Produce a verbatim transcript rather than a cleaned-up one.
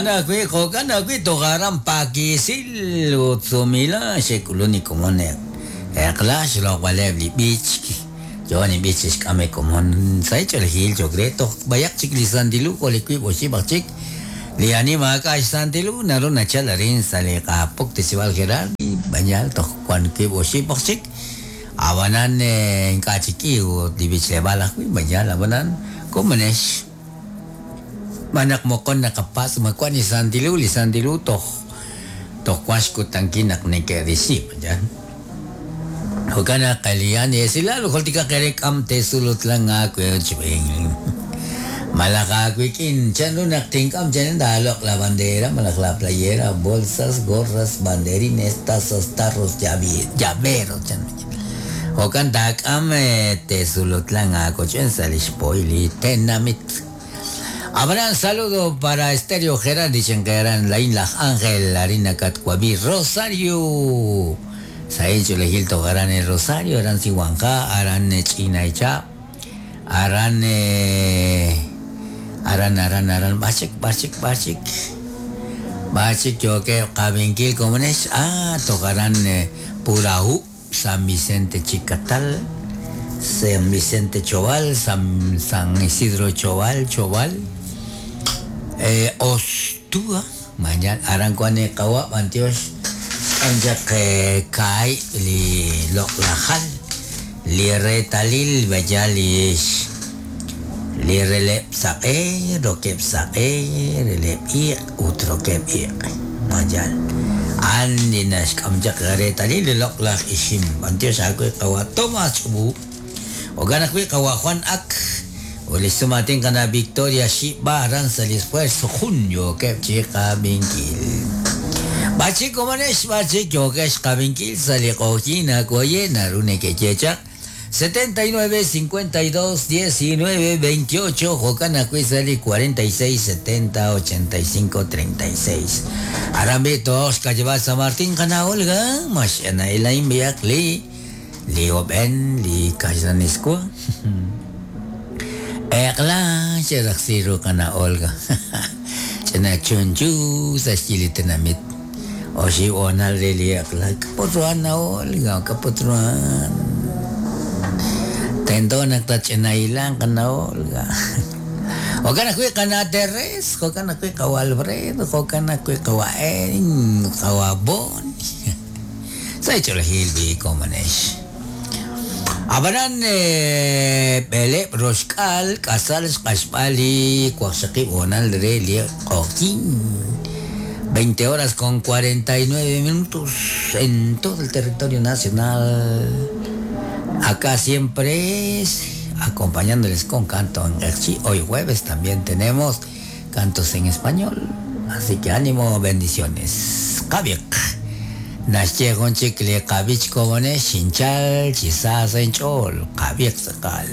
Jo'kan ajwi', jo'kan ajwi' toj aran Paquisil ut Sumila xe'k'ulun li komon eq'la xloq'b'aleb' li b'ich yo ni b'ich xk'ame komon sa' ch'oolejil cho'q re toj b'ayaq chik li Santilu jo' li wiib' oxib' aj chik li ani maak'a' xSantilu naru nachal arin sa' li Qapuktesib'al Gerardi bañal toj wan wiib' oxib' aj chik abanan ink'a' chik k'i ut li b'ichleb'aal ajwi' bañal abanan komonex manak mokon nakapas makwan ni Santilu li Santilu toj toj wan xkutankil naq neke'risib' yan jo'kan naq lian esilal jultika qere k'am tesulutlan aawe' malaj aawik'in chanru naq tink'am chanen taaloq' la bandera malaj la playera bolsas gorras banderines tazas tarros llaveros chan jo'kan taak'am tesulutlan aakoch'en sa' li xpoy li tenamit. Habrá un saludo para Estéreo Gerardi Chenqueran, Laín Laj Ángel, Harina Catcuaví, Rosario. Saencho Lejilto Garan el Rosario, Aran Sihuanja, Aran Chinaicha, Aran Aran Aran Aran Bachik, Bachik, Bachik. Bachik, yo que Cabenquil Comunes, ah, tocarán Puraú, San Vicente Chicatal, San Vicente Choval, San, San Isidro Choval, Choval. Eh, Ostúa, mañana Arancuane Kawa, Antioch, Anjak Kai, li Loklajal, li Retalil, Bayalish, li Relep Saque, Roquep Saque, Relep Iq, Utroquep Iq, mañana. Andi Nash, Amjak Retalil, Loklaj Ishim, Antioch, Akwe Kawa, Tomás Chubu, Oganakwe Kawa Juan Ak. Ulisumatin ka na Victoria Shiba aran sa esfuerzo junio que chica binkil. Bachi komanesh bachi kyokesh kabinkil sa liqojina koyena rune que checha setenta y nueve cincuenta y dos diecinueve veintiocho Jocana Cuizali cuarenta y seis setenta ochenta y cinco treinta y seis. Arambito Oscar lleva San Martín kana Olga Mashana Elaine Biakli Leo Ben li Kajanisco. Eqla xeraqsiru kana Olga. Chana chunchu sa xilitenamit. Oxi onal reli eqla kapotruan na Olga kapotruan. Tendo nagtachinailan kana Olga. Jokan akui kana Teres, jokan akui kawa Alfredo, jokan akui kawa Erin, kawa Bon. Sa cholejil bi komanesh. Abanan bele roshkal kasal xqaxpali cuaxaqib onal reli qokin. veinte horas con cuarenta y nueve minutos en todo el territorio nacional. Acá siempre es acompañándoles con canto en Erchi. Hoy jueves también tenemos cantos en español. Así que ánimo, bendiciones. Kabiek. Nasche gonchik le kabich kobone shinchal chisa senchol kabiek sakal.